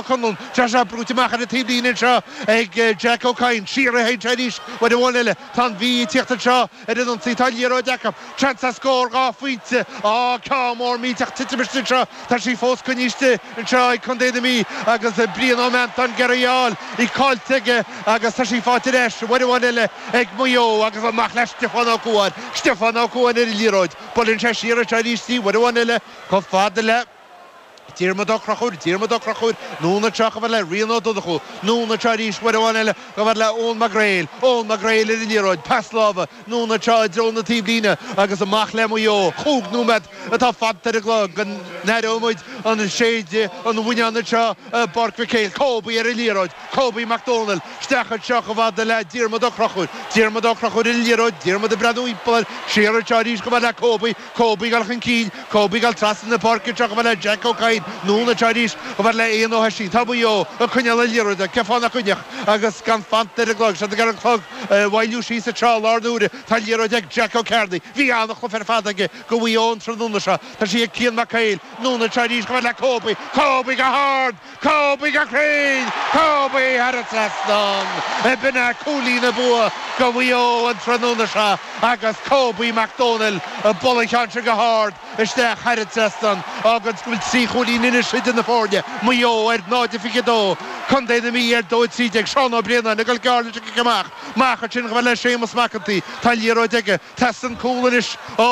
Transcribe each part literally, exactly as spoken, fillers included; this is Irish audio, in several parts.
Conlon Tá sé brúite amach ar an taobhlíne anseo ag Jack Ó Cadhain siar a théann sé arís uair amháin eile tá an Mhí ag tíocht anseo ar an ionsaí tá liathróid acu seans ar scór dhá phointe á ceann mór millteach titim istigh anseo tá sí fós coinnithe anseo ag Contae na Mí agus Brian Ó Meantáin ag iarraidh í a fháil í caillte aige agus tá sí faighte ar ais uair amháin eile ag Maigh Eo agus amach le Stiofán Ó Cuain Stiofán Ó Cuain ar an liathróid buaileann sé siar anseo arís í uair amháin eile chomh fada le Diarmuid Ó Conchúir, Diarmuid Ó Conchúir, anonn anseo chomh fada le Rian Ó Donnchú, anonn anseo arís uair amháin eile chomh fada le Eoin Mac Gréil, Eoin Mac Gréil ar an liathróid, pas láimhe, anonn anseo i dtreo na taobhlíne agus amach le Maigh Eo. Chúig nóiméad atá fanta ar an gclog go n-aireoidh muid an séideadh an bhuinneáin anseo i bPáirc Mhic Éil. Kobe ar an liathróid, Kobe Mac Dónaill, isteach anseo chomh fada le Diarmuid Ó Conchúir, Diarmuid Ó Conchúir ar an liathróid, Diarmuid ag breathnú thimpeall air, siar anseo arís chomh fada le Kobe, Kobe ag dul chun cinn, Kobe ag dul trasna na páirce anseo chomh fada le Jack Ó Cadhain, anonn anseo arís chomh fada le Ian Ó hOisín. Tá Maigh Eo ag coinneáil na liathróide, cén fáth nach gcoinneodh agus gan fanta ar an gclog. Siad ag iarraidh an clog a mhoilliú síos anseo i lár na huaire. Tá an liathróid ag Jack Ó Cearnaigh. Bhí an-chluiche ar fad aige do Mhaigh Eo an tráthnóna seo. Tá sí ag Cian Mac Éil. Anonn anseo arís chomh fada le Kobe. Kobe go hard! Kobe go cruinn! Kobe thar an trasnán! B'in é cúilín an bua do Mhaigh Eo an tráthnóna seo agus Kobe Mac Dónaill ag bualadh an cheann sin go hard isteach thar an trasnán. Fágann go bhfuil trí chúilín anois idir na foirne, Maigh Eo ar náid a fiche dó, Contae na Mí ar dó a trí déag. Seán Ó Braonáin ag dul gearr leis an gcic amach. Amach ansin chomh fada le Séamus Mac an tSaoi. Tá an liathróid aige. Teastaíonn cúl anois ó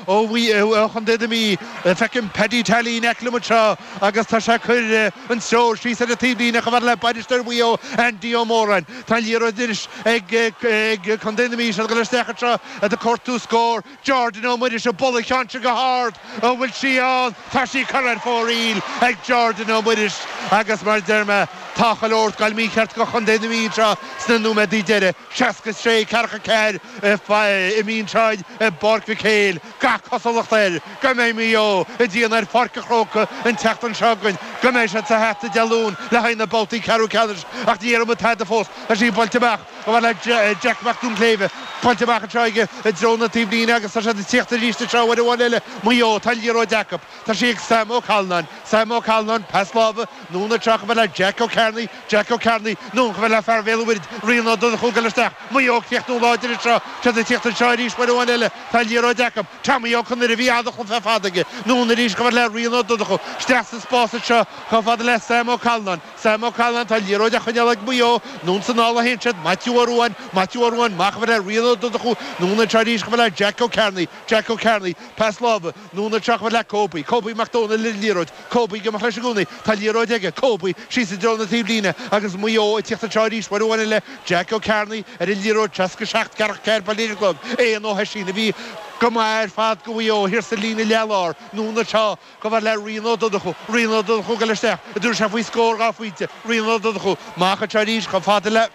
ó Chontae na Mí. Feicim Paddy Tally in aice liom anseo agus tá sé ag cur an treoir síos ar an taobhlíne chomh fada le bainisteoir Mhaigh Eo, Andy Ó Móráin. Tá an liathróid anois ag ag Contae na Mí. Siad ag dul isteach anseo ag cuartú scór. Jordan Ó Muiris ag bualadh an cheann sin go hard. An bhfuil sí ann? Tá sí curtha ar fóraoil ag Jordan Ó Muiris agus mar a deir mé, tá chuile shórt ag dul mícheart do Chontae na Mí anseo sna nóiméadaí deiridh. seasca sé, ceathracha ceathair imithe anseo i bPáirc Mhic Éil. Gach cosúlacht air go mbeidh Maigh Eo ag déanamh ar Pháirc an Chrócaigh an tseachtain seo chugainn, go mbeidh siad sa hata Dé Luain le haghaidh na babhtaí ceathrú ceannais ach ní dhéarfaidh muid tada fós. Tá sí buailte amach chomh fada le Jack Mac Duinnshléibhe. Buailte amach anseo aige i dtreo na taobhlíne agus tá siad ag tíocht arís anseo uair amháin eile. Maigh Eo, tá an liathróid acu. Tá sí ag Sam Ó Callanáin. Sam Ó Callanáin, pas láimhe, anonn anseo chomh fada le Jack Ó Cearnaigh. Jack Ó Cearnaigh, anonn chomh fada le fear Bhéal an Mhuirthead, Rian Ó Donnchú ag dul isteach. Maigh Eo ag críochnú láidir anseo. Tá siad ag tíocht anseo arís uair amháin eile. Tá an liathróid acu. Tommy Ó Conaire, bhí an-chluiche ar fad aige. Anonn arís chomh fada le Rian Ó Donnchú. Isteach sa spás anseo chomh fada le Sam Ó Callanáin. Sam Ó Callanáin, tá an liathróid á choinneáil ag Maigh Eo. Anonn is anall a théann siad. Maitiú Ó Ruadháin, Maitiú Ó Ruadháin, amach chomh fada le Rian Ó Donnchú. Anonn anseo arís chomh fada le Jack Ó Cearnaigh. Jack Ó Cearnaigh, pas láimhe. Anonn anseo chomh fada le Kobe. Kobe Mac Dónaill ar an liathróid. Kobe ag imeacht leis i gcónaí. Tá an liathróid aige. Kobe síos i dtreo na taobhlíne agus Maigh Eo ag tíocht anseo arís uair amháin eile. Jack Ó Cearnaigh ar an liathróid. seasca seacht, ceathracha ceathair buille ar an gclog. Éanna Ó hOisín a bhí go maith ar fad do Mhaigh Eo thiar sa líne leath-lár. Anonn anseo chomh fada le Rian Ó Donnchú. Rian Ó Donnchú ag dul isteach. An dtabharfaidh sé faoi scór dhá phointe. Rian Ó Donnchú amach anseo arís chomh fada le.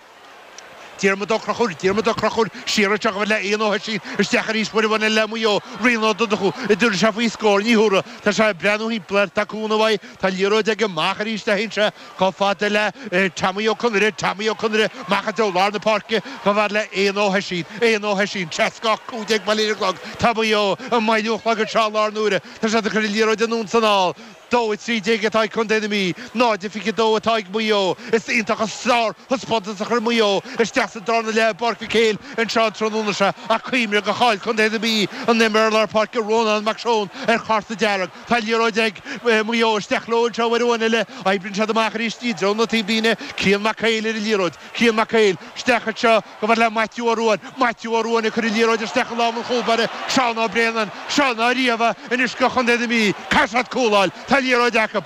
Diarmuid Ó Conchúir, Diarmuid Ó Conchúir, siar anseo chomh fada le Ian Ó hOisín, isteach arís uair amháin eile le Maigh Eo, Rian Ó Donnchú, an dtabharfaidh sé faoi scór, ní thabharfaidh, tá sé ag breathnú thimpeall air, tá cúnamh uaidh, tá an liathróid aige, amach arís a théann sé chomh fada le Tommy Ó Conaire, Tommy Ó Conaire, amach i dtreo lár na páirce chomh fada le Ian Ó hOisín, Ian Ó hOisín, seasca ocht cúig déag buille ar an gclog, tá Maigh Eo ag moilliú an chlog anseo i lár na huaire, tá siad ag cur an liathróid anonn is anall. dó a trí déag atá ag Contae na Mí, náid a fiche dó atá ag Maigh Eo. Is iontach an sárthaispeántas a chuir Maigh Eo isteach sa darna leath i bPáirc Mhic Éil anseo an tráthnóna seo ach cuimhnigh gur chaill Contae na Mí an imreoir lár páirce Rónán Mac Seoin ar chárta dearg. Tá an liathróid ag Maigh Eo isteach leo anseo uair amháin eile. Oibríonn siad amach arís i dtreo na taobhlíne. Cian Mac Éil ar an liathróid. Cian Mac Éil isteach anseo chomh fada le Maitiú Ó Ruadháin. Maitiú Ó Ruadháin ag cur an liathróid isteach i lámha an chúlbáire, Seán Ó Braonáin. Seo ná riamh anois do Chontae na Mí. Caithfidh siad cúl a fháil. Tá an liathróid acu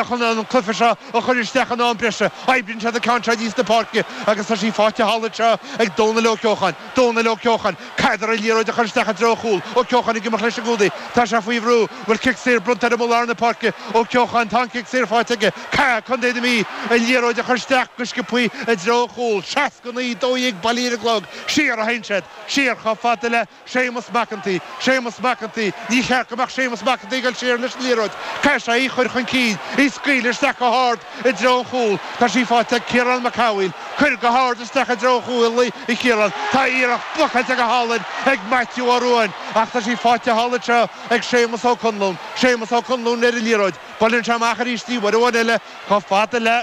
chun an cluiche seo a chur isteach in am breise. Oibríonn siad an ceann seo aníos na páirce agus tá sí faighte thall anseo ag Dónal Ó Ceocháin. Dónal Ó Ceocháin. Caithfear an liathróid a chur isteach i dtreo an chúil. Ó Ceocháin ag imeacht leis i gcónaí. Tá sé faoi bhrú. Bhfuil cic saor bronnta air amuigh lár na páirce? Ó Ceocháin, tá an cic saor faighte aige. Caithfidh Contae na Mí an liathróid a chur isteach go sciobthaí i dtreo an chúil. seasca naoi, dó dhéag buille ar an gclog. Siar a théann siad. Siar chomh fada le Séamus Mac an tSaoi. Séamus Mac an tSaoi. Ní cheart go mbeadh Séamus Mac an tSaoi ag dul siar leis an liathróid. Caithfidh sé í a chur chun cinn. Í scaoileadh isteach go hard i dtreo an chúil. Tá sí faighte ag Ciarán Mac Cathmhaoil. Cuir go hard isteach i dtreo chúil a Chiaráin. Tá iarracht blocáilte go hálainn ag Matthew Ó Ruáin ach tá sí faighte thall anseo ag Séamus Ó Conluain. Séamus Ó Conluain ar an liathróid. Buaileann sé amach arís í uair amháin eile chomh fada le